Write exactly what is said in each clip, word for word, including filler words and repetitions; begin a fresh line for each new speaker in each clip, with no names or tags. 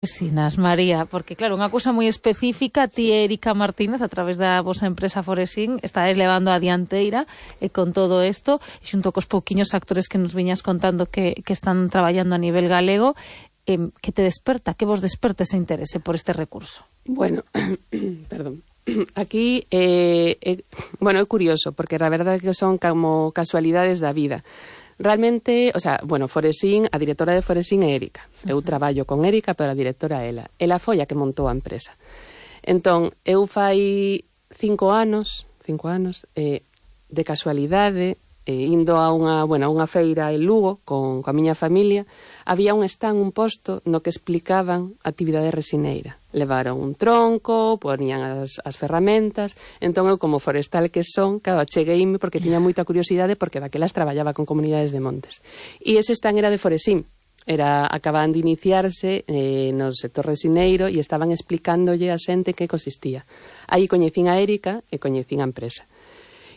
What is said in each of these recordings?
Resinas, María, porque claro, unha cousa moi específica, ti e Erika Martínez, a través da vosa empresa Foresín, estáis levando a dianteira e con todo isto, e xunto cos pouquiños actores que nos viñas contando que, que están traballando a nivel galego, eh, que te desperta, que vos desperta ese interese por este recurso?
Bueno, perdón. Aquí, eh, eh, bueno, é curioso, porque a verdade é que son como casualidades da vida. Realmente, o sea, bueno, Foresín, a directora de Foresín é Erika. Eu traballo con Erika, pero a directora é ela. Ela foi a que montou a empresa. Entón, eu fai cinco anos, cinco anos, eh, de casualidade, eh, indo a unha, bueno, a unha feira en Lugo con, con a miña familia, había un stand, un posto, no que explicaban a actividade resineira. Levaron un tronco, ponían as, as ferramentas, entón eu como forestal que son, claro, achegueime porque tiña moita curiosidade porque daquelas traballaba con comunidades de montes. E ese stand era de Foresín, era, acababan de iniciarse eh, no sector resineiro e estaban explicándolle a xente que consistía. Aí coñecín a Erika e coñecín a empresa.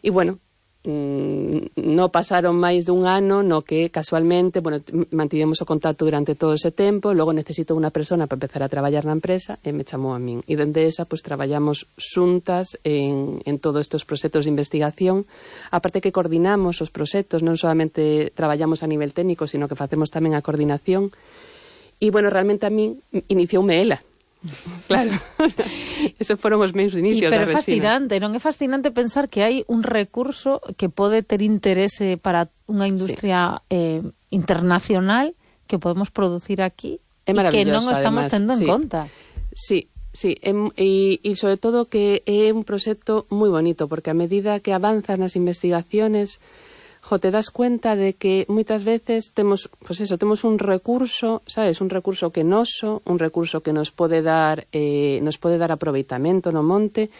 E bueno, non pasaron máis dun ano no que casualmente, bueno, mantivemos o contacto durante todo ese tempo, logo necesito unha persona para empezar a traballar na empresa e me chamou a min. E dende esa, pois, traballamos xuntas en, en todos estes proxectos de investigación, aparte que coordinamos os proxectos, non solamente traballamos a nivel técnico, sino que facemos tamén a coordinación. E, bueno, realmente a min inicioume ela. Claro, o sea, esos foron os meus inicios.
E pero é fascinante, non é fascinante pensar que hai un recurso que pode ter interese para unha industria sí. eh, internacional que podemos producir aquí e que non o estamos además, tendo en
sí.
conta.
Sí, sí, e, e sobre todo que é un proxecto moi bonito, porque a medida que avanzan as investigaciones, jo, te das cuenta de que moitas veces temos, pues eso, temos un recurso, sabes, un recurso que noso, un recurso que nos pode dar eh, nos pode dar aproveitamento no monte,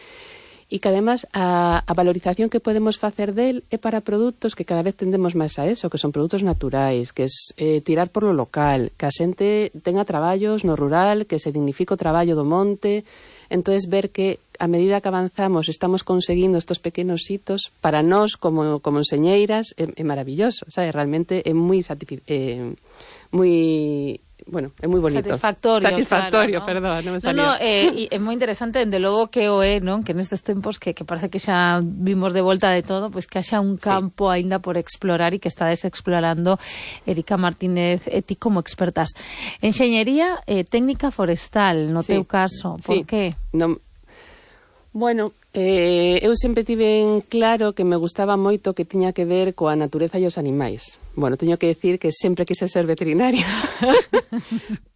e que además a, a valorización que podemos facer del é para produtos que cada vez tendemos máis a eso, que son produtos naturais, que é eh, tirar por lo local, que a xente tenga traballos no rural, que se dignifique o traballo do monte. Entonces, ver que a medida que avanzamos estamos conseguindo estos pequenos hitos, para nós como, como enseñeiras é, é maravilloso, sabe? Realmente é moi satisfi- eh, moi, bueno, é moi bonito.
Satisfactorio,
Satisfactorio,
claro, ¿no?
perdón, non me salía.
No, no, eh, é moi interesante, dende logo que o é, non? Que nestes tempos que, que parece que xa vimos de volta de todo, pois pues que haxa un campo sí. aínda por explorar e que estades explorando, Erika Martínez e ti como expertas. Enxeñería eh, técnica forestal, no sí. teu caso, por
sí.
que?
Non. Bueno, eh, eu sempre tive en claro que me gustaba moito que tiña que ver coa natureza e os animais. Bueno, teño que decir que sempre quise ser veterinaria,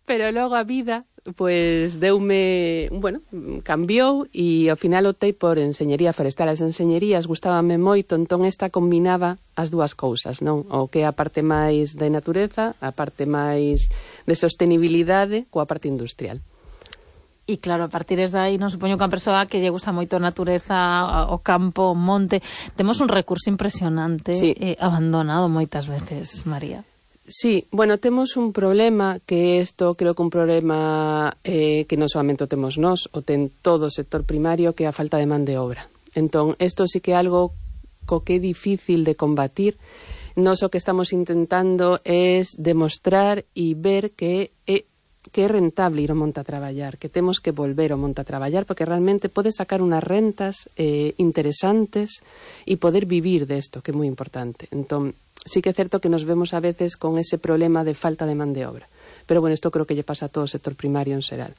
pero logo a vida, pues, deume, bueno, cambiou e ao final optei por enxeñería forestal. As enxeñerías gustábame moito, entón esta combinaba as dúas cousas, non? O que é a parte máis de natureza, a parte máis de sostenibilidade coa parte industrial.
E claro, a partir de aí, non supoño que a persoa que lle gusta moito a natureza, o campo, o monte, temos un recurso impresionante sí. eh, abandonado moitas veces, María.
Sí, bueno, temos un problema que isto creo que un problema eh, que non solamente o temos nós, o ten todo o sector primario, que é a falta de man de obra. Entón, isto sí que é algo co que é difícil de combatir. Nós o que estamos intentando é demostrar e ver que é que é rentable ir ao monte a traballar, que temos que volver ao monte a traballar, porque realmente pode sacar unas rentas eh, interesantes e poder vivir desto, que é moi importante. Entón, sí que é certo que nos vemos a veces con ese problema de falta de man de obra. Pero, bueno, isto creo que lle pasa a todo o sector primario en xeral.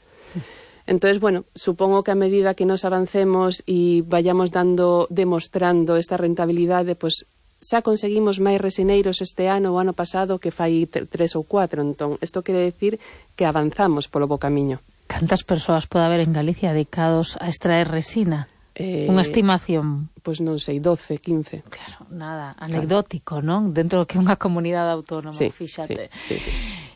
Entonces, bueno, supongo que a medida que nos avancemos e vayamos dando, demostrando esta rentabilidade, pues, xa conseguimos máis resineiros este ano ou ano pasado que fai tres ou cuatro, entón isto quere decir que avanzamos polo bo camiño.
Cantas persoas pode haber en Galicia dedicados a extraer resina? Eh, Unha estimación?
Pois non sei, doce, quince.
Claro, nada, anecdótico, claro. Non? Dentro do que é unha comunidade autónoma,
sí,
fíxate.
Sí, sí, sí.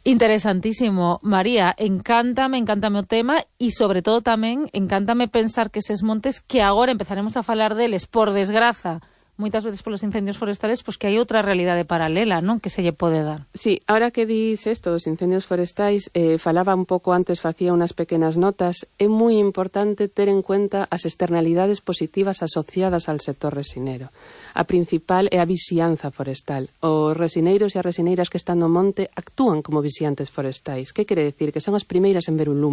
Interesantísimo. María, encántame, encántame o tema e sobre todo tamén encántame pensar que eses montes que agora empezaremos a falar deles, por desgraza, moitas veces polos incendios forestales, pois que hai outra realidade paralela, non? Que se lle pode dar.
Sí, ahora que dis isto dos incendios forestais, eh, falaba un pouco antes, facía unas pequenas notas, é moi importante ter en cuenta as externalidades positivas asociadas al sector resinero. A principal é a vixianza forestal. Os resineiros e as resineiras que están no monte actúan como vixiantes forestais. Que quere decir? Que son as primeiras en ver un lume.